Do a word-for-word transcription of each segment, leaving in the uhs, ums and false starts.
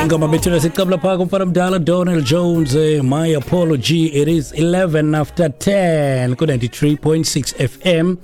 Ingoma bethuna siqabula phaa kumfana mdala Donald Jones, eh, My Apology. It is eleven after ten ku ninety-three point six F M.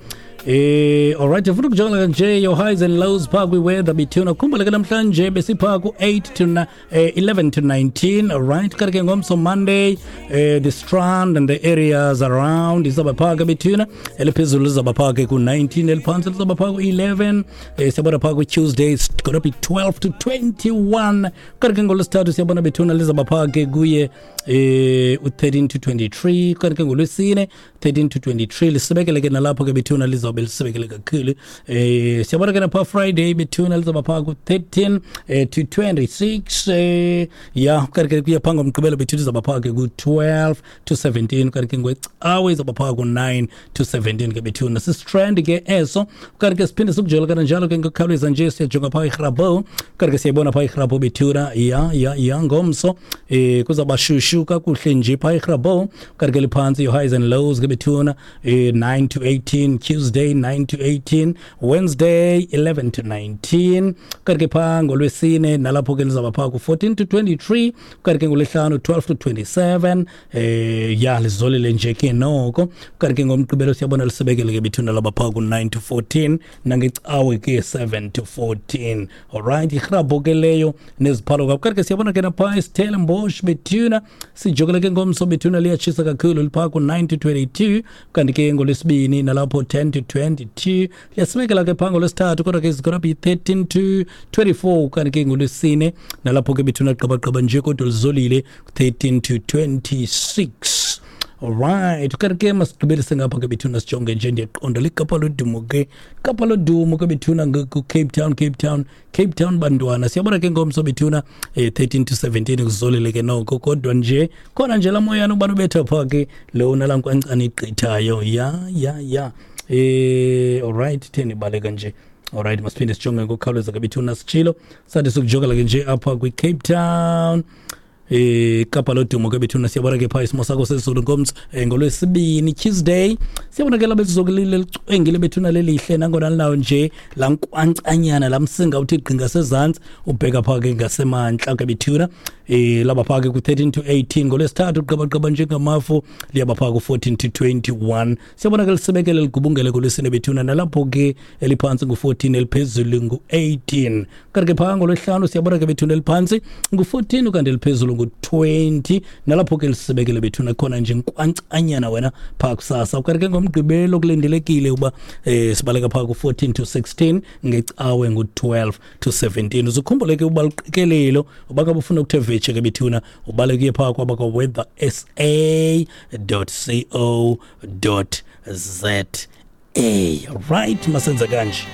Eh alright, ufuna ukujonga nje your highs and lows phaa kwi-weather bethuna. Khumbule ke namhlanje besiphaa ku-eight to na- eh, eleven to nineteen. Alright, kanti ke ngomso Monday, eh, the Strand and the areas around izawuba phaa ke bethuna, eliphezulu lizawuba phaa ke ku-nineteen, eliphantsi lizawuba phaa ku-eleven. eh, siyabona phaa ku-Tuesday it's gonna be twelve to twenty-one. Kanti ke ngolwesithathu siyabona bethuna lizawuba phaa ke kuye eh u-thirteen to twenty-three. Kanti ke ngolwesine thirteen to twenty-three, lisibekele ke nalapho ke bethuna, lizawube lisibekele kakhulu. eh siyabona ke napha Friday bethuna lizawuba phaa ku-thirteen eh, to twenty-six. eh ya kanti ke kuya phaa ngomgqibelo bethuna izawuba phaa ke ku-twelve to seventeen. Kanti ke ngwecawe izawuba phaa ku-nine to seventeen ke bethuna, si-Strand ke eso. Kanti ke siphinde sikujela kananjalo ke ngokukhawuleza nje, siyajonga phaa iGrabouw. Kanti ke siyayibona phaa iGrabouw bethuna, ya ya ya ngomso eh kuzawuba shushu kakuhle nje phaa iGrabouw. Kanti ke liphantsi, your highs and lows ke bethuna, eh nine to eighteen Tuesday, nine to eighteen Wednesday, eleven to nineteen. Kanti ke phaa ngolwesine nalapho ke lizawuba phaa ku-fourteen to twenty-three. Kanti ke ngolwesihlanu twelve to twenty-seven. eh ya lizolile nje ke noko. Kanti ke ngomgqibelo siyabona lisebekele ke bethuna, laba phaa ku-nine to fourteen, nangecawe ke seven to fourteen. Alright, iGrabouw ke leyo neziphalo. Kanti ke siyabona ke naphaa iStellenbosch bethuna, sijokele ke ngomso bethuna, liyatshisa kakhulu, liphaa ku-nine to twenty-two. Kanti ke ngolwesibini nalapho ten to twenty-two, liyasibekela ke phaa ngolwesithathu, kodwa ke it's gonna be thirteen to twenty-four. Kanti ke ngolwesine nalapho ke bethuna gqabagqaba nje kodwa lizolile, thirteen to twenty-six. Alright, kanti ke masigqibelise ngapha ke bethuna, sijonge nje, ndiyaqonda liKapa lodumo ke, Kapa lodumo ke bethuna, ku-Cape Town, Cape Town, Cape Town bantwana. Siyabona ke ngomso bethuna, eh, thirteen to seventeen, kuzolile ke noko, kodwa nje khona nje laa moyana ubana ubetha phaa ke lona laa nkwankcane igqithayo. Ya ya ya eh alright, theni ibaleka nje. Alright, masiphinde sijonge ngokukhawuleza ke bethuna, sitshilo sathi sokujongela ke nje apha kwi-Cape Town, eh Kapa lodumo ke bethuna. Siyabona ke phaa isimo sakho sezulu ngomso, eh, ngolwesibini Tuesday, siyabona ke labe sizokulile, licwengile bethuna, lelihle nangona linawo nje laa nkwankcanyana, laa msinga uthi gqi ngasezantsi ubheka phaa ke ngasemantla ke bethuna, eh laba phaa ke ku-thirteen to eighteen. Ngolwesithathu gqabagqaba njengamafu, liyaba phaa ku-fourteen to twenty-one. Siyabona ke lisebekele ligubungele ngolwesine bethuna, nalapho ke eliphantsi ngu-fourteen, eliphezulu ngu-eighteen. Kanti ke phaa ngolwesihlanu siyabona ke bethuna eliphantsi ngu-fourteen, kanti eliphezulu ngu-twenty, nalapho ke lisebekele bethuna, khona nje nkwankcanyana wena phaa kusasa. Kanti ke ngomgqibelo kulindelekile uba eh sibaleka phaa ku-fourteen to sixteen, ngecawe ngu-twelve to seventeen. Uzukhumbule ke uba luqikelelo, uba ngabe ufuna ukuthe vetshe ke bethuna, ubaleke phaa kwaba kwa-weather S A dot co dot Z A. Right, masenze kanje.